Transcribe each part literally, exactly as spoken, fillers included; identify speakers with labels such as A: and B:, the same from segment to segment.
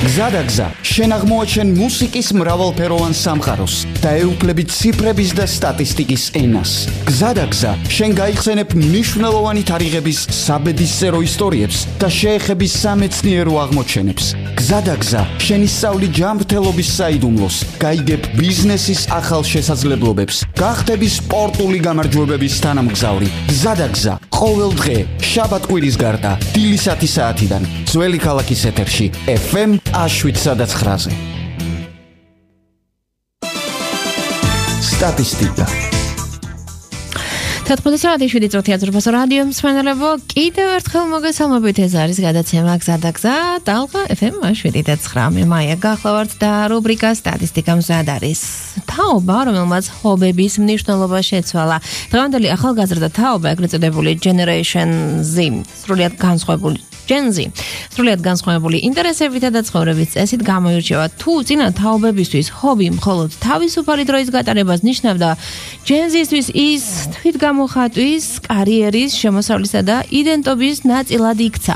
A: გზადაგზა, შენ აღმოაჩენ მუსიკის მრავალფეროვან სამყაროს და ეუფლები ციფრების და სტატისტიკის ენას. გზადაგზა, შენ გაიხსენებ მნიშვნელოვანი თარიღების საბედისწერო ისტორიებს და შეეხები სამეცნიერო აღმოჩენებს. გზადაგზა, შენ ისწავლი ჯანმრთელობის საიდუმლოს, გაიგებ ბიზნესის ახალ შესაძლებლობებს, გახდები სპორტული გამარჯვებების თანამგზავრი. გზადაგზა, ყოველ დღე, შაბათ-კვირის გარდა, დილისათი საათიდან, ძველი ქალაქის ეთერში, ეფ ემ შვიდ სადაც ხრაზე. სტატისტიკა.
B: თოთხმეტი შვიდი წუთი აზერბაიჯანის რადიო მსმენელებო, კიდევ ერთხელ მოგესალმებით, ეს არის გადაცემა გზადაგზა, ტალღა ეფ ემ შვიდი და ცხრა. მე მაია გახლავართ და რუბრიკა სტატისტიკა მზად არის. თაობა, რომელმაც ჰობების მნიშვნელობა შეცვალა. დღევანდელი ახალგაზრდა თაობა, ეგრეთ წოდებული Generation Z, სრულიად განსხვავებული Gen Z, სრულიად განსხვავებული ინტერესებითა და ცხოვრების წესით გამოირჩევა. თუ წინა თაობებისთვის ჰობი მხოლოდ თავისუფალი დროის გატარებას ნიშნავდა, Gen Z-ისთვის ის თვითგამოხატვის, კარიერის, შემოსავლისა და იდენტობის ნაწილად იქცა.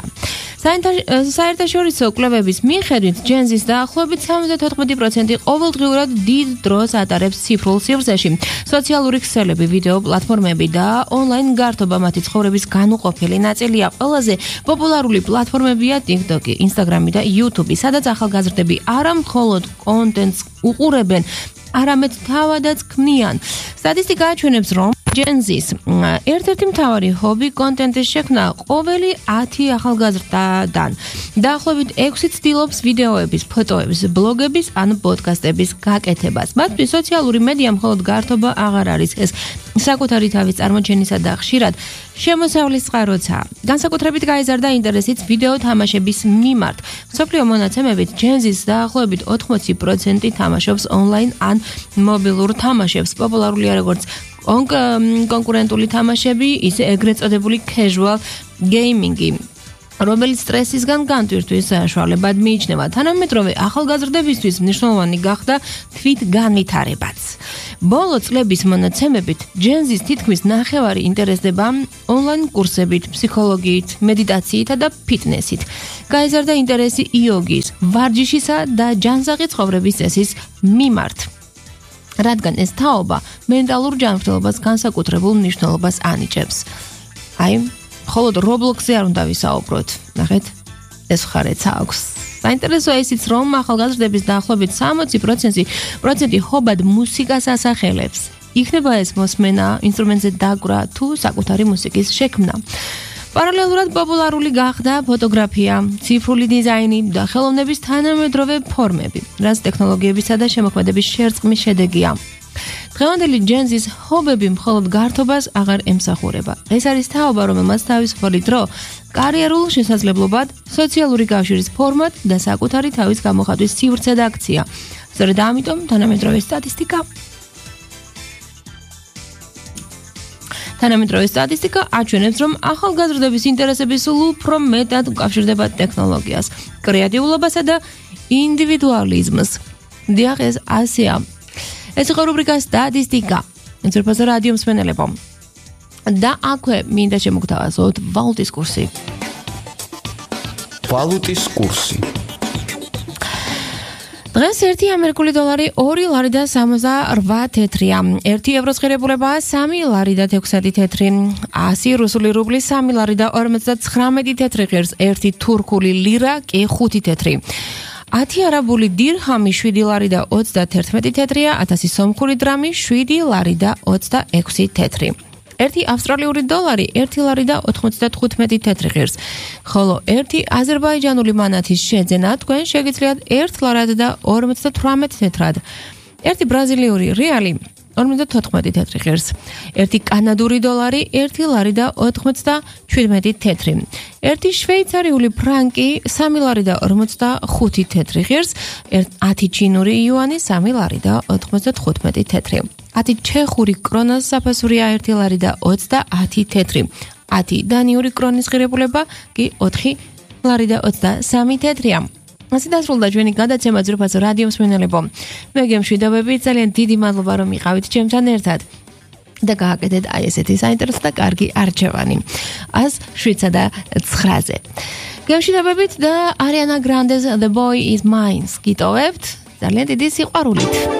B: საერთაშორისო კვლევების მიხედვით, Gen Z-ს დაახლოებით სამოცდათოთხმეტი პროცენტი ყოველდღიურად დიდ დროს ატარებს ციფრულ სივრცეში. სოციალური ქსელები, ვიდეო პლატფორმები და ონლაინ გართობა მათი ცხოვრების განუყოფელი ნაწილია. ყველაზე პოპულარული პლატფორმებია TikTok, Instagram და YouTube, სადაც ახალგაზრდები არა მხოლოდ კონტენტს უყურებენ, არამედ თავადაც ქმნიან. სტატისტიკა აჩვენებს, რომ Gen Z-ს ერთ-ერთი მთავარი ჰობი კონტენტის შექმნა ყოველი ათი ახალგაზრდიდან. დაახლოებით ექვსი ცდილობს ვიდეოების, ფოტოების, ბლოგების ან პოდკასტების გაკეთებას. მათთვის სოციალური მედია მხოლოდ გართობა აღარ არის, ეს საკუთარი თავის წარმოჩენისა და ხშირად შემოსავლის წყაროა. განსაკუთრებით გაიზარდა ინტერესიც ვიდეო თამაშების მიმართ. მსოფლიო მონაცემებით Gen Z-ს დაახლოებით ოთხმოცი პროცენტი თამაშობს ონლაინ ან მობილურ თამაშებს. პოპულარულია როგორც კონკურენტული თამაშები, ისე ეგრეთ წოდებული casual gaming-ი, რომელიც სტრესისგან განტვირთვის საშუალებად მიიჩნევა. თანამედროვე ახალგაზრდებისთვის მნიშვნელოვანი გახდა თვითგანვითარებაც. ბოლო წლების მონაცემებით, Gen Z-ს თითქმის ნახევარი ინტერესდება ონლაინ კურსებით, ფსიქოლოგიით, მედიტაციით და ფიტნესით. გაიზარდა ინტერესი იოგის, ვარჯიშისა და ჯანსაღი ცხოვრების წესის მიმართ. რადგან ეს თაობა მენტალურ ჯანმრთელობას განსაკუთრებულ მნიშვნელობას ანიჭებს. აი, მხოლოდ Roblox-ზე არ უნდა ვისაუბროთ. ნახეთ, ეს მხარეც აქვს. საინტერესოა ისიც, რომ ახალგაზრდების დაახლოებით სამოცი პროცენტი ჰობად მუსიკას ასახელებს. იქნება ეს მოსმენა, ინსტრუმენტზე დაკვრა თუ საკუთარი მუსიკის შექმნა. პარალელურად პოპულარული გახდა ფოტოგრაფია, ციფრული დიზაინი და ხელოვნების თანამედროვე ფორმები, რაც ტექნოლოგიებისა და შემოქმედების შერწყმის შედეგია. დღევანდელი Gen Z-ს ჰობები მხოლოდ გართობას აღარ ემსახურება. ეს არის თაობა, რომელმაც თავისუფალი დრო კარიერულ შესაძლებლობად, სოციალური კავშირის ფორმად და საკუთარი თავის გამოხატვის სივრცედ აქცია. სწორედ ამიტომ თანამედროვე სტატისტიკა თანამედროვე სტატისტიკა აჩვენებს, რომ ახალგაზრდების ინტერესები სულ უფრო მეტად უკავშირდება ტექნოლოგიას, კრეატიულობასა და ინდივიდუალიზმს. დიახ, ეს ასეა. ეს იყო რუბრიკა სტატისტიკა. აზერბაიჯანის რადიო მსმენელებო. და აქვე მინდა შემოგთავაზოთ ვალუტის კურსი.
A: ვალუტის კურსი.
B: დღეს ერთი ამერიკული დოლარი ორი ლარი და სამოცდაორვა თეთრია. ერთი ევროს ღირებულება სამი ლარი და ექვსი თეთრი. ასი რუსული რუბლი სამი ლარი და ორმოცდათხრამეტი თეთრი ღირს. ერთი თურქული ლირა კი ხუთი თეთრი. ათი არაბული დირჰამი შვიდი ლარი და ოცდათერთმეტი თეთრია. ათასი სომხური დრამი შვიდი ლარი და ოცდაექვსი თეთრი. ერთი ავსტრალიური დოლარი ერთი ლარი და ოთხმოცდათხუთმეტი თეთრი ღირს. ხოლო ერთი აზერბაიჯანული მანათის შეძენა თქვენ შეგიძლიათ ერთ ლარად და ორმოცდათვრამეტ თეთრად. ერთი ბრაზილიური რეალი ორმოცდათოთხმეტი თეთრი ღირს. ერთი კანადური დოლარი ერთი ლარი და ოთხმოცდაშვიდმეტი თეთრი. ერთი შვეიცარიული ფრანკი სამი ლარი და ორმოცდახუთი თეთრი ღირს. ათი ჩინური იუანი სამი ლარი და ოთხმოცდათხუთმეტი თეთრი. ათი ჩეხური კრონას საფასურია ერთი ლარი და ოცდაათი თეთრი. ათი დანიური კრონის ღირებულება კი ოთხი ლარი და ოცდასამი თეთრია. ასე დასრულდა ჩვენი გადაცემა ძროხას რადიო მსმენელებო. მე გემშვიდობები, ძალიან დიდი მადლობა რომ იყავით ჩემთან ერთად. და გააკეთეთ აი ესეთი საინტერესო და კარგი არჩევანი. ას შვიდსა და ცხრაზე. გემშვიდობებით და Ariana Grande's The Boy Is Mine გიტოვებთ ძალიან დიდი სიყვარულით.